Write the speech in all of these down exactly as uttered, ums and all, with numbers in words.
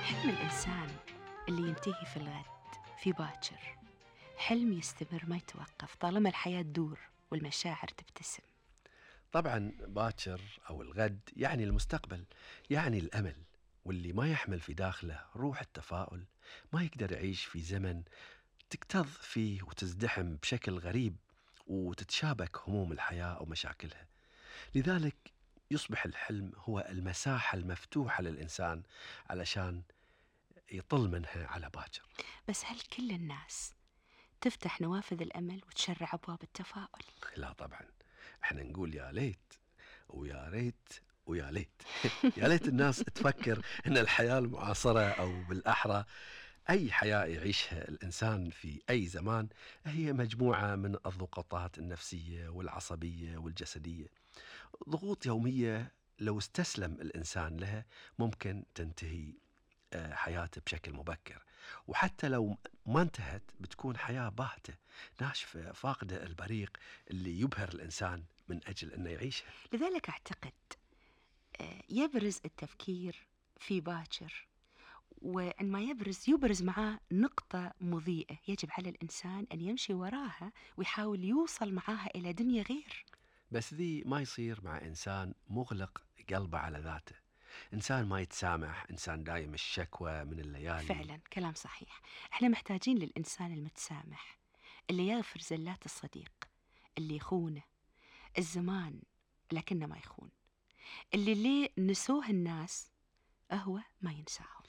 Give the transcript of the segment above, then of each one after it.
حلم الإنسان اللي ينتهي في الغد في باكر حلم يستمر ما يتوقف طالما الحياة تدور والمشاعر تبتسم. طبعا باكر أو الغد يعني المستقبل، يعني الأمل، واللي ما يحمل في داخله روح التفاؤل ما يقدر يعيش في زمن تكتظ فيه وتزدحم بشكل غريب وتتشابك هموم الحياة ومشاكلها. لذلك يصبح الحلم هو المساحة المفتوحة للإنسان علشان يطل منها على باكر. بس هل كل الناس تفتح نوافذ الأمل وتشرع أبواب التفاؤل؟ لا طبعا، احنا نقول يا ليت ويا ريت ويا ليت يا ليت الناس تفكر ان الحياة المعاصرة او بالاحرى اي حياة يعيشها الانسان في اي زمان هي مجموعة من الضغوطات النفسية والعصبية والجسدية، ضغوط يومية لو استسلم الانسان لها ممكن تنتهي آه، حياته بشكل مبكر، وحتى لو ما انتهت بتكون حياة باهتة ناشفة فاقدة البريق اللي يبهر الإنسان من أجل أنه يعيشها. لذلك أعتقد آه، يبرز التفكير في باكر، وعندما يبرز يبرز معاه نقطة مضيئة يجب على الإنسان أن يمشي وراها ويحاول يوصل معاها إلى دنيا غير. بس ذي ما يصير مع إنسان مغلق قلبه على ذاته، إنسان ما يتسامح، إنسان دايم الشكوى من الليالي. فعلا كلام صحيح، احنا محتاجين للإنسان المتسامح اللي يغفر زلات الصديق، اللي يخونه الزمان لكنه ما يخون، اللي ليه نسوه الناس هو ما ينساهم.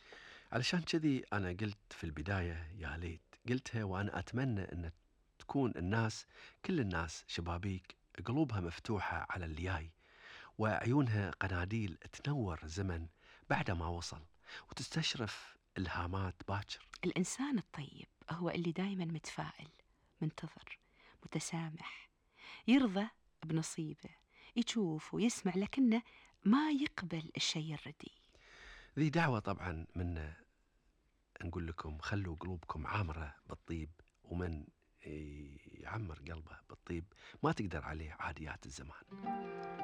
علشان كذي أنا قلت في البداية يا ليت، قلتها وأنا أتمنى أن تكون الناس كل الناس شبابيك قلوبها مفتوحة على اللي جاي، وعيونها قناديل تنور زمن بعد ما وصل وتستشرف إلهامات باكر. الإنسان الطيب هو اللي دايما متفائل، منتظر، متسامح، يرضى بنصيبه، يشوف ويسمع لكنه ما يقبل الشيء الردي. ذي دعوة طبعا منا نقول لكم خلوا قلوبكم عامرة بالطيب، ومن يعمر قلبه بالطيب ما تقدر عليه عاديات الزمان.